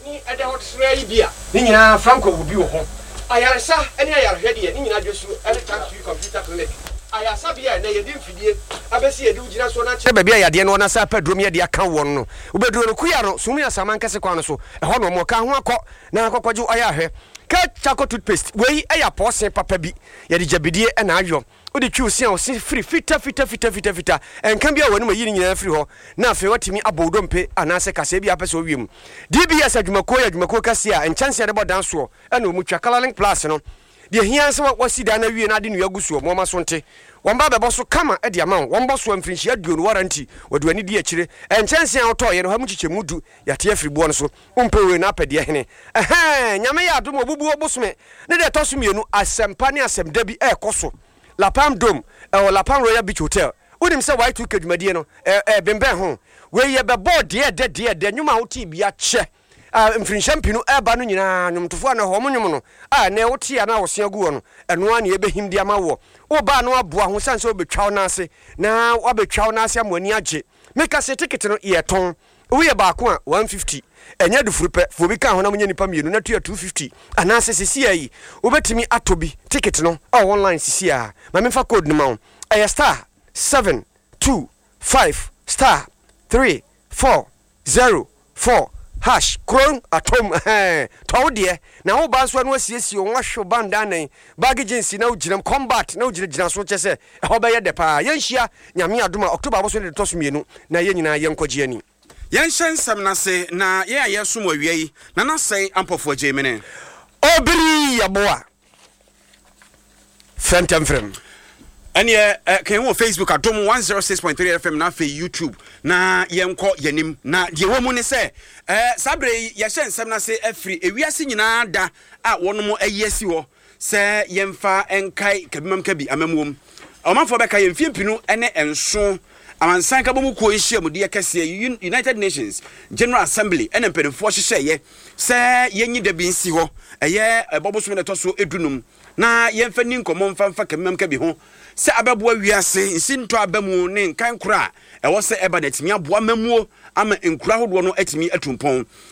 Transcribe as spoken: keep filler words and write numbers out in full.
Ni ɛda hɔ sra yi bi a ne nyinaa Franco wɔ bi wɔ hɔ. Ayaresa ne ayarehwɛ deɛ, ne nyinaa dwe so ne Thank You Computer Clinic ayasabea a ɛnɛ yɛde mfidie abɛsi yɛde wo gyina soɔ no akyerɛ baabi a yadeɛ no wɔ na sɛ apɛ aduro mu yɛde aka wɔn no wobɛduro no kuya no sum ne asaman kɛse kwan no so ɛhɔ na ɔmo ka ho akɔ na akɔkɔgye ayɛ ahwɛ ka charcoal toothpaste. Wei ɛyɛ apɔɔsen papa bi, yɛde gyabidie ɛna ayɔ. Wode twi wo se a, wo se firi fita fita fita fita fita. Ɛnka bi a w'anim ayi ne nyinaa firi hɔ na afei watumi abɔ wo dompe anaasɛ kaseɛ bi a apɛ sɛ wowie mu. D B S adwumakuo yɛ adwumakuo kɛseɛ a nkyɛnse a de bɔ dan soɔ ɛna ɔmu twa Colorlink Plus no deɛ hia sɛ wasi dan no awie na ade nnua gu soɔ moɔma so nte wɔn ba bɛbɔ so kama de ama wo. Wɔn bɔ so a mfirinhyia aduonu warranty, wɔde w'ani di akyire. Nkyɛnse a wotɔɔyɛ no ha mu kyekyɛmu du yɛate afiri boɔ no so. Wompɛ wei na apɛ deɛ hene ɛhɛn. Nyame yɛ adom, ɔbubuo bosome ne deɛ ɛtɔ so mmienu, asɛmpa ne asɛmda bi ɛɛkɔ so Lapam Dome ɛwɔ Lapam Royal Beach Hotel. Wonim sɛ Y two K dwumadie no ɛɛ bembɛn ho. Wei yɛbɛbɔ deɛ ɛdɛ deɛ ɛdɛ nnwom a wote bi akyɛ a mfirinhyia mpinu ɛba no nyinaa. Nnwomtofoɔ a na hɔ mo nnwom no a ɛnɛ wote a na wosea gu hɔ no, ɛno a ne yɛbɛhim de ama woɔ. Wobaa no aboa ho sane sɛ wobɛtwa wo no ase na woabɛtwa wo no ase ama w'ani agye. Meka sɛ ticket no yɛtɔn, woyɛ baako a one fifty, ɛnyɛ dufuru pɛ fo obi ka ho na monyɛ nipa mmienu na tua two fifty, anaasɛ sisi a yi wobɛtumi atɔ bi ticket no ɛwɔ online sisi a. Ma memfa code no ma wo. Ɛyɛ star seven two five star three four zero four hash kuro atom. Ɛhɛn, tɔ wo deɛ na wo ba nso ano asiesie wo ho ahwɛ wo bandanan baggy jeans na wogyinam combat na wogyinagyina so kyɛ sɛ ɛhɔ bɛyɛ dɛ paa. Yɛnhyia Nyame adom a October aboso ne de tɔ so mmienu na yɛn nyinaa yɛnkɔgye ani. Yɛnhyɛ nsɛm no ase na yɛn a yɛsom awia yi na nasɛe ampɔfoɔ agye mene. Obiri yɛboa frɛntɛmfrɛm. Ɛneɛ eh, kan wɔ Facebook Adom one oh six point three F M na afei YouTube na yɛnkɔ yɛnim. Na deɛ wɔ mu ne sɛ eh, saa berɛ yi yɛhyɛ nsɛm no ase afiri ewiase nyinaa da a wɔnom ayi asi hɔ sɛ yɛmfa nkae kabimam kabi amamuom. Ɔmanfoɔ bɛka yɛn mfie mpinu ne nson amansan kabɔ mu kuo nhyiamudeɛ kɛseɛ, United Nations General Assembly, ɛna mpanimfoɔ hyehyɛeɛ sɛ yɛnyi da bi nsi hɔ, ɛyɛ ɛbɔ bosome na ɛtɔ so edunum, na yɛmfa ni nkɔmmɔ mfa mfa kabimam kabi ho sɛ abɛboa wiase nsintɔ aba mu ne nkan koro a ɛwɔ sɛ ɛba na atumi aboa mamuo ama nkura ahodoɔ no atumi atu mpɔn.